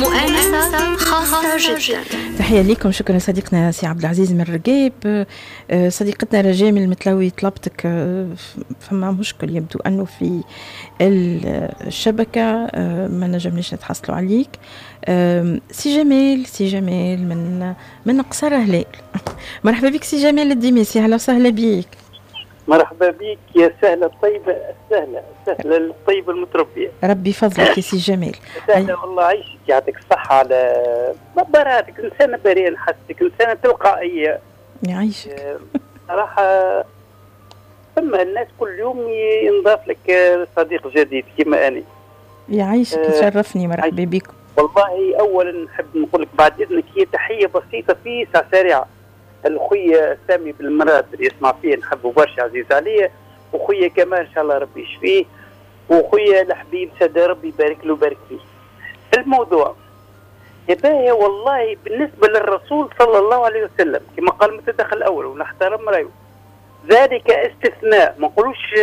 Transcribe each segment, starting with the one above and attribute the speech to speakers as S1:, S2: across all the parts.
S1: مؤانسة خاصة جدا.
S2: تحية لكم، شكرا صديقنا سي عبد العزيز من الرقاب. صديقتنا رجاء من المتلوي طلبتك، فما مشكل يبدو أنه في الشبكة، ما نجمناش نتحصلوا عليك. سي جمال، سي جمال من قصر هلال، مرحبا بك سي جمال الديماسي، اهلا وسهلا بك.
S3: مرحبا بك يا سهلة الطيبة، السهلة السهلة الطيبة المتربية.
S2: ربي يفضلك يا سي جمال.
S3: سهلة والله، عيشك، يعطيك الصحة على مباراتك، إنسانة بريئة نحسك، إنسانة تلقائية.
S2: يعيشك.
S3: صراحة ثم الناس كل يوم ينضاف لك صديق جديد كما أني.
S2: يعيشك، تشرفني، مرحبا بكم.
S3: والله أولا نحب نقول لك بعد إذنك هي تحية بسيطة في ساعة سريعة. الخويا سامي بالمراد اللي يسمع فيه نحبه برشا، عزيز عليا، وخويا كمان ان شاء الله ربي يشفيه، وخويا الحبيب سيد ربي يبارك له ويبارك فيه. الموضوع يا باهي والله بالنسبة للرسول صلى الله عليه وسلم كما قال المتدخل الاول ونحترم رايه، ذلك استثناء، ما نقولوش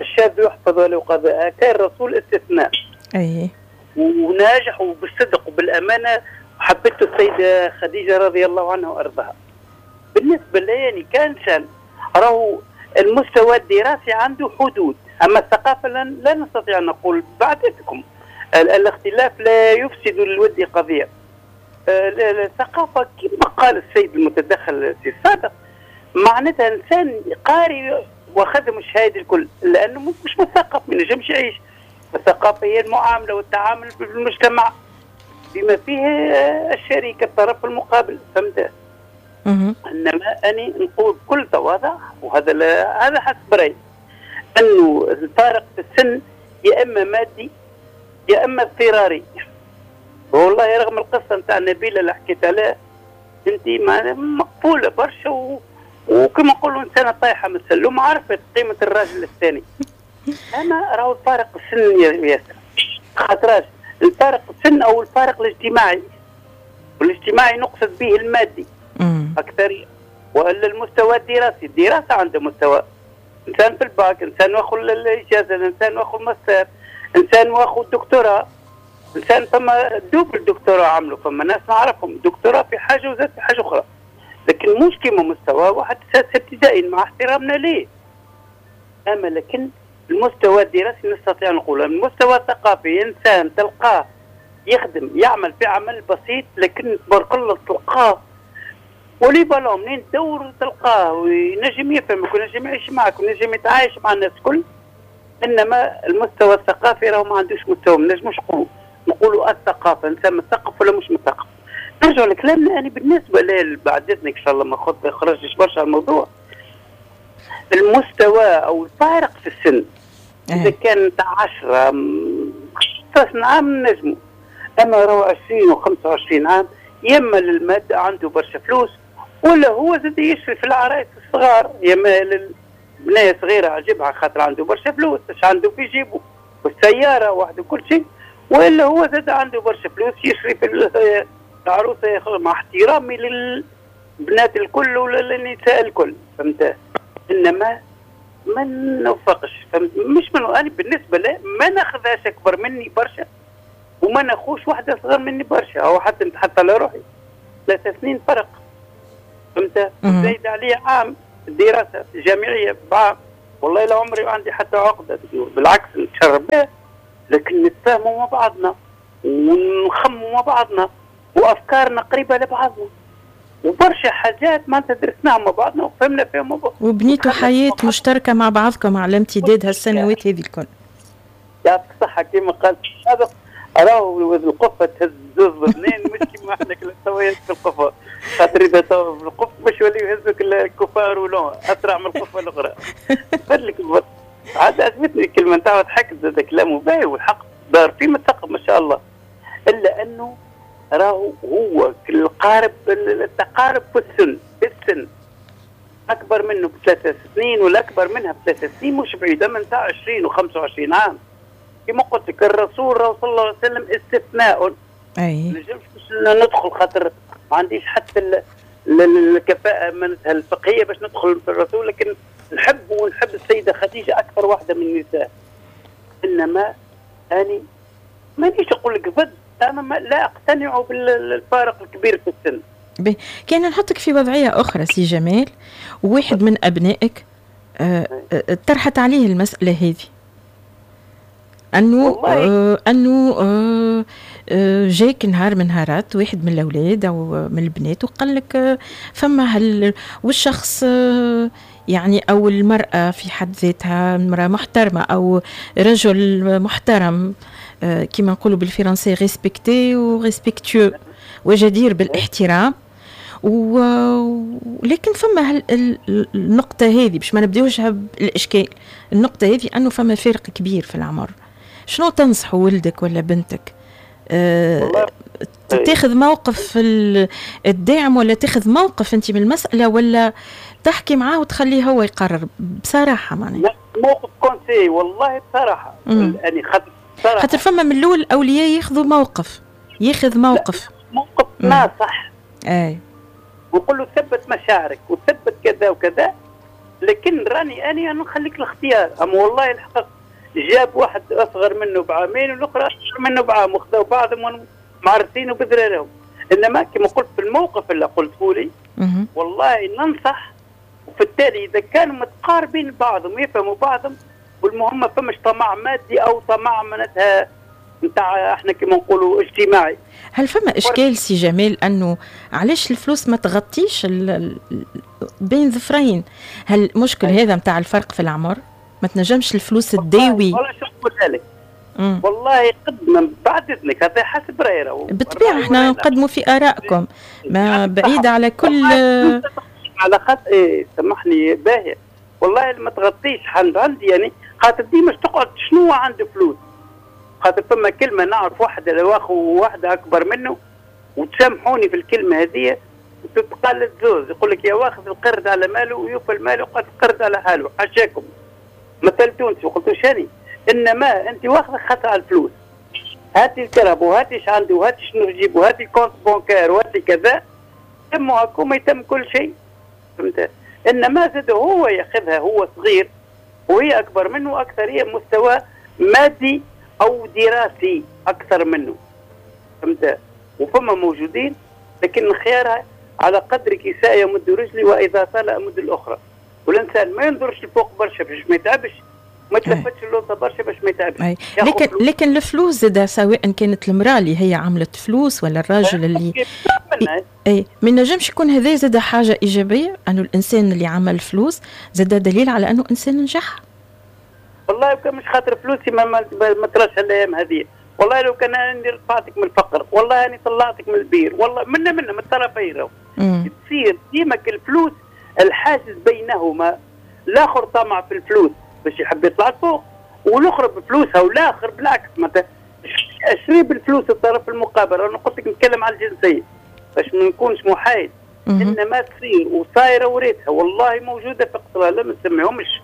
S3: الشاذ يحفظ ولا يقاضى، كان الرسول استثناء.
S2: اي
S3: وناجح وبالصدق وبالامانه، وحبته السيدة خديجة رضي الله عنها وارضاها. بالنسبة لي يعني كانسان راهو المستوى الدراسي عنده حدود، اما الثقافة لا نستطيع ان نقول بعدتكم الاختلاف لا يفسد للود قضية. الثقافة كما قال السيد المتدخل السابق معناتها انسان قاري واخذ الشهادة الكل، لانه مش مثقف ما ينجمش يعيش. الثقافة هي المعاملة والتعامل بالمجتمع بما فيه الشريك الطرف المقابل، فهمت؟ انما اني نقول بكل تواضع، وهذا هذا حسب رايي، انه الفارق في السن يا اما مادي يا اما اضطراري. والله رغم القصة نتاع نبيلة اللي حكيت عليها انت مقبولة برشا وكما نقولوا انسانه طايحة من السلوم عرفت قيمة الراجل الثاني. اما راهو الفارق السن ياسر، خاطراش الفارق السن او الفارق الاجتماعي، والاجتماعي نقصد به المادي أكثر، وإلا المستوى الدراسي. الدراسة عنده مستوى، إنسان في الباك، إنسان واخذ الإجازة، إنسان واخذ ماستر، إنسان واخذ دكتوراه، إنسان فما double دكتوراه عملوا، فما ناس نعرفهم دكتوراه في حاجة وزاد في حاجة أخرى، لكن مش كيما مستوى واحد سادس ابتدائي مع احترامنا ليه. أما لكن المستوى الدراسي نستطيع نقول، المستوى الثقافي إنسان تلقاه يخدم يعمل في عمل بسيط، لكن تبارك الله تلقاه polyvalent منين تدور تلقاه وينجم يفهمك وينجم يعيش معك وينجم يتعايش مع الناس الكل. انما المستوى الثقافي راهو ما عندوش مستوى، ما نجموش نقولوا الثقافة انسان مثقف ولا مش مثقف. نرجع لكلامنا، يعني بالنسبة لي بعد اذنك ان شاء الله ما خرجتش برشا على الموضوع، المستوى او الفارق في السن اذا كان تاع 10 15 عام نجموا، اما راهو 20 و25 عام يا اما للمادة عنده برشا فلوس، ولا هو زاد يشري في العرايس الصغار، يا اما للبنيه صغيرة عجبها خاطر عنده برشا فلوس، اش عنده في جيبه والسيارة وحده كل شيء، والا هو زاد عنده برشا فلوس يشري في العروسة، مع احترامي للبنات الكل وللنساء الكل، فهمت؟ انما ما نوفقش، فهمت؟ مش من انا بالنسبة لي ما ناخذهاش اكبر مني برشا، وما ناخوش واحدة اصغر مني برشا، او حتى نتحط على روحي 3 سنين فرق، فهمت؟ زايد عليه عام دراسة جامعية بعام، والله لا عمري عندي حتى عقده، بالعكس نتشرب بها، لكن نتفاهموا مع بعضنا ونخموا مع بعضنا وافكارنا قريبه لبعضنا، وبرشا حاجات معناتها درسناها مع بعضنا وفهمنا فيها مع بعضنا،
S2: وبنيتوا حياة مشتركة مع بعضكم على امتداد هالسنوات هذه الكل.
S3: يعطيك الصحة كما قالت السابق، راهو القفه تهز زوز اثنين، مش كيما احنا توا في القفه، خاطر اذا توا في القفه باش يوليو يهزوك الكفار ولون اسرع من القفه الاخرى. فضلك عاد عجبتني الكلمة نتاعو، ضحكت زاد كلامه باهي والحق دار فيه مثقف ما شاء الله، الا انه راهو هو القارب التقارب في السن، السن اكبر منه ب3 سنين ولا اكبر منها ب3 سنين، مش بعيدة من تاع 20 و25 عام. كما قلت لك الرسول صلى الله عليه وسلم استثناء.
S2: اي
S3: ما نجمش ندخل خاطر ما عنديش حتى الكفاءة معناتها الفقهية باش ندخل في الرسول، لكن نحب ونحب السيدة خديجة اكثر واحدة من النساء. انما اني مانيش نقول لك ضد انا لا اقتنع بالفارق الكبير في السن.
S2: كان نحطك في وضعية اخرى سي جمال، وواحد من ابنائك طرحت عليه المسالة هذه، انه جاك نهار من نهارات واحد من الاولاد او من البنات وقال لك فما والشخص يعني او المراة في حد ذاتها امراة محترمه او رجل محترم، كما نقولوا بالفرنسي respecté و respectueux وجدير بالاحترام، ولكن فما النقطة هذه باش ما نبداوش بالإشكال، النقطة هذه أنه فما فرق كبير في العمر. شنو تنصح ولدك ولا بنتك؟ تاخذ موقف الداعم ولا تاخذ موقف أنت من المسألة، ولا تحكي معاه وتخليه هو يقرر بصراحة؟ معناها
S3: موقف conseil والله بصراحة يعني
S2: خاطر فما من الأول الأولياء ياخذوا موقف، ياخذ موقف
S3: موقف ناصح،
S2: اي
S3: ويقول له ثبت مشاعرك وثبت كذا وكذا، لكن راني انا نخليك الاختيار. اما والله الحق جاب واحد اصغر منه بعامين والاخرى اصغر منه بعام، وخذوا بعضهم معرسين وبذرارهم. انما كما قلت في الموقف اللي قلته لي والله ننصح، وفي التالي اذا كانوا متقاربين بعضهم يفهموا بعضهم، والمهم ما فماش طمع مادي او طمع معناتها نتاع احنا كما نقولوا اجتماعي.
S2: هل فما اشكال سي جمال انه علاش الفلوس ما تغطيش بين ظفرين؟ هل المشكل هذا نتاع الفرق في العمر ما تنجمش الفلوس تداوي؟
S3: والله شو نقول لك، والله قد بعد اذنك هذا حسب رايي،
S2: بالطبيعة احنا نقدموا في ارائكم ما بعيدة على كل
S3: على خاطر ايه سامحني باهيه والله ما تغطيش عندي يعني خاطر ديما تقعد شنو عنده فلوس. خاطر فما كلمة نعرف واحدة لو اخو واحدة اكبر منه، وتسامحوني في الكلمة هذه تتقال الزوز، يقول لك يا واخذ القرد على ماله ويوفى المال وقد القرد على حاله، حاشاكم مثل تونسي وقلت شاني، انما انت واخذ خاطر على الفلوس، هاتي الكرهب وهاتي اش عندي وهاتي شنو نجيب وهاتي ال compte bancaire وهاتي كذا، تم هكوما يتم كل شيء، فهمت؟ انما زاد هو ياخذها هو صغير وهي اكبر منه، اكثر هي مستوى مادي او دراسي اكثر منه، فهمت؟ وفما موجودين لكن خيارها على قدر كساء يمد رجلي واذا طال امد الاخرى، والانسان ما ينظرش لفوق برشا باش ما يتعبش، ما تلفتش اللوطه برشا باش ما يتعبش.
S2: لكن الفلوس زاد سواء كانت المراة اللي هي عملت فلوس ولا الراجل اللي اي ما نجمش يكون هذا زاد حاجة ايجابية، انه الانسان اللي عمل فلوس زاد دليل على انه انسان نجح.
S3: والله كان مش خاطر فلوسي ما تراش الايام هذه، والله لو كان انا رفعتك من الفقر، والله انا طلعتك من البير، والله منا من الطرفين. تصير ديما الفلوس الحاجز بينهما، الاخر طمع في الفلوس باش يحب يطلع فوق، والاخر بفلوسها، والاخر بالعكس معناتها اشري بالفلوس الطرف المقابل. انا قلت لك نتكلم على الجنسية باش ما نكونش محايد، انما تصير وصايره وريتها والله موجودة في قصرها، لا ما نسميهمش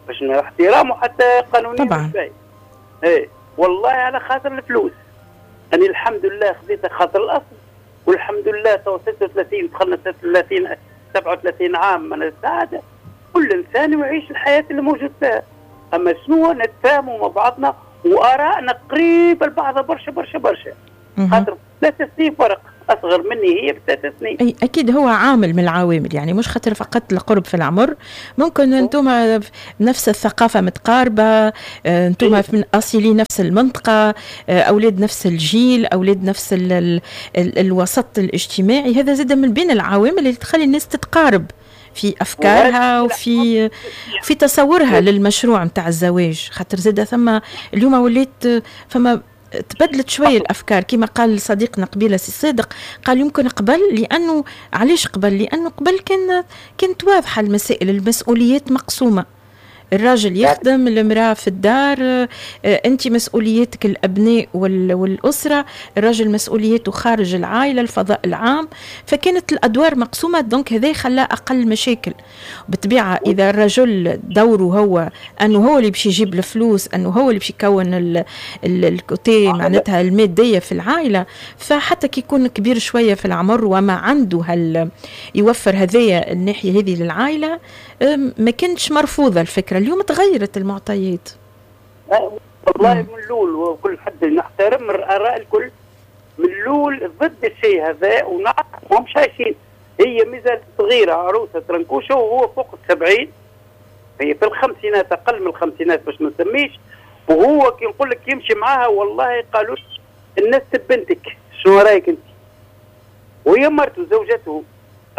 S3: باش احترامه حتى قانونيا
S2: طبعا.
S3: ايه والله على خاطر الفلوس. انا الحمد لله خذيتها خاطر الاصل، والحمد لله تو 36 دخلنا 36 37 عام من السعادة. كل انسان يعيش الحياة اللي موجود فيها، اما شنو نتفاهموا مع بعضنا وارائنا قريبه لبعضها برشا برشا برشا، خاطر 3 سنين فرق، اصغر مني هي ب3 سنين.
S2: اي اكيد هو عامل من العوامل، يعني مش خاطر فقط القرب في العمر، ممكن انتم نفس الثقافة متقاربة، انتم من اصيلي نفس المنطقة، اولاد نفس الجيل، اولاد نفس ال ال الوسط الاجتماعي، هذا زاد من بين العوامل اللي تخلي الناس تتقارب في افكارها وفي في تصورها للمشروع نتاع الزواج. خاطر زاد ثم اليوم وليت فما تبدلت شوية الافكار، كما قال صديقنا قبيلة سي صادق، قال يمكن قبل، لانه علاش قبل؟ لانه قبل كانت واضحة المسائل، المسؤوليات مقسومة، الراجل يخدم، المرأة في الدار، أنت مسؤوليتك الأبناء والأسرة، الراجل مسؤوليته خارج العائلة، الفضاء العام، فكانت الأدوار مقسومة، donc هذا خلى أقل مشاكل. بالطبيعة إذا الرجل دوره هو أنه هو اللي باش يجيب الفلوس، أنه هو اللي باش يكون ال côté معناتها المادية في العائلة، فحتى كي يكون كبير شوية في العمر وما عنده هل يوفر هذايا الناحية هذه للعائلة، ما كانتش مرفوضة الفكرة. اليوم تغيرت المعطيات.
S3: والله من الاول وكل حد نحترم اراء الكل، من الاول ضد الشيء هذا، ونعرف مش عايشين. هي مازالت صغيرة عروسه ترنكوشه وهو فوق 70، هي في الخمسينات، اقل من الخمسينات باش ما نسميش. وهو كي نقول لك يمشي معاها والله قالوا الناس بنتك، شنو رايك انت؟ وهي مرته زوجته،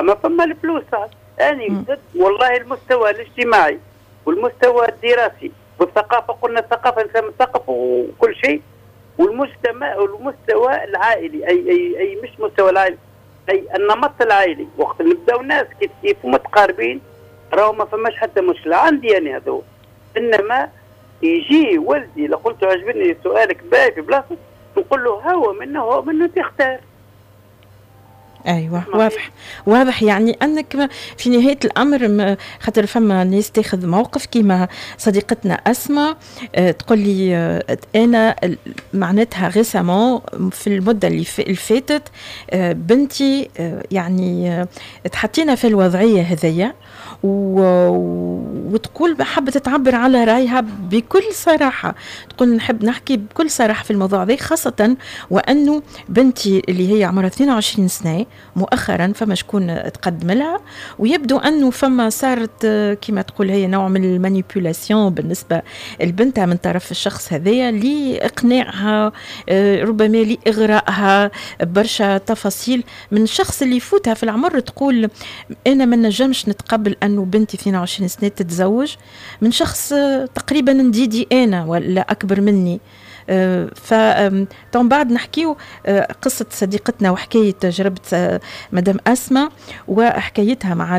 S3: اما فما الفلوس. اني ضد والله المستوى الاجتماعي والمستوى الدراسي والثقافة، قلنا الثقافة انسان مثقف وكل شيء، والمجتمع والمستوى العائلي، اي اي اي مش مستوى العائلي، اي النمط العائلي. وقت نبداو ناس كيف كيف ومتقاربين راهو ما فماش حتى مشكلة عندي يعني هذا. انما يجي ولدي لو قلت عجبني سؤالك باهي في بلاصة، نقول له هو منه هو منه تختار.
S2: ايوه واضح واضح، يعني انك في نهاية الامر خاطر فما ناس تاخذ موقف كيما صديقتنا اسماء، تقول لي انا معناتها récemment في المدة اللي فاتت بنتي يعني تحطينا في الوضعية هذيا، وتقول حبت تعبر على رايها بكل صراحة، تقول نحب نحكي بكل صراحة في الموضوع ذا، خاصة وانه بنتي اللي هي عمرها 22 سنة مؤخرا فما شكون تقدم لها، ويبدو انه فما صارت كما تقول هي نوع من ال manipulation بالنسبة لبنتها من طرف الشخص هذايا لاقناعها، ربما لاغرائها برشا تفاصيل من الشخص اللي يفوتها في العمر. تقول انا ما نجمش نتقبل انه بنتي 22 سنة تتزوج من شخص تقريبا نديدي انا ولا اكبر مني. ف بعد نحكيو قصة صديقتنا وحكاية تجربة مدام أسماء وحكايتها مع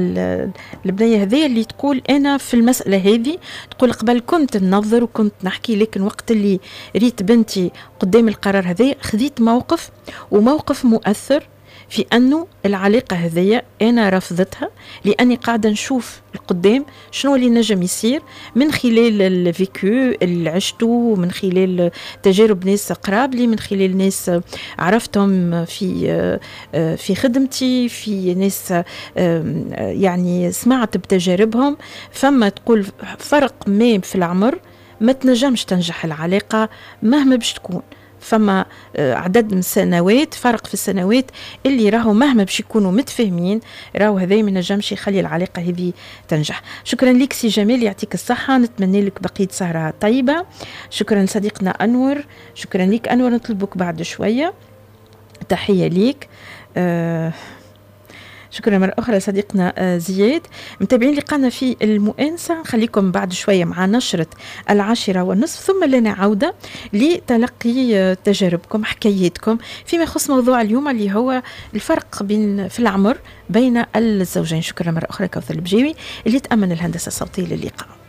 S2: البنية هذه اللي تقول أنا في المسألة هذه، تقول قبل كنت ننظر وكنت نحكي، لكن وقت اللي ريت بنتي قدام القرار هذا خذيت موقف، وموقف مؤثر في أنه العلاقة هذية أنا رفضتها، لأني قاعدة نشوف القدام شنو اللي نجم يصير من خلال ال vécu اللي عشته، من خلال تجارب ناس قراب لي، من خلال ناس عرفتهم في خدمتي، في ناس يعني سمعت بتجاربهم. فما تقول فرق ما في العمر ما تنجمش تنجح العلاقة مهما باش تكون، فما عدد من السنوات، فرق في السنوات اللي راهو مهما باش يكونوا متفاهمين راهو هذا ما نجمش يخلي العلاقة هذه تنجح. شكرا لك سي جمال، يعطيك الصحة، نتمنى لك بقية سهره طيبة. شكرا لصديقنا انور، شكرا لك انور، نطلبك بعد شوية، تحية ليك. شكرا مرة أخرى لصديقنا زياد. متابعين لقانا في المؤانسة، نخليكم بعد شوية مع نشرة 10:30، ثم لنا عودة لتلقي تجاربكم حكاياتكم فيما يخص موضوع اليوم اللي هو الفرق بين في العمر بين الزوجين. شكرا مرة أخرى كوثر البجيوي اللي تأمن الهندسة الصوتية للقاء.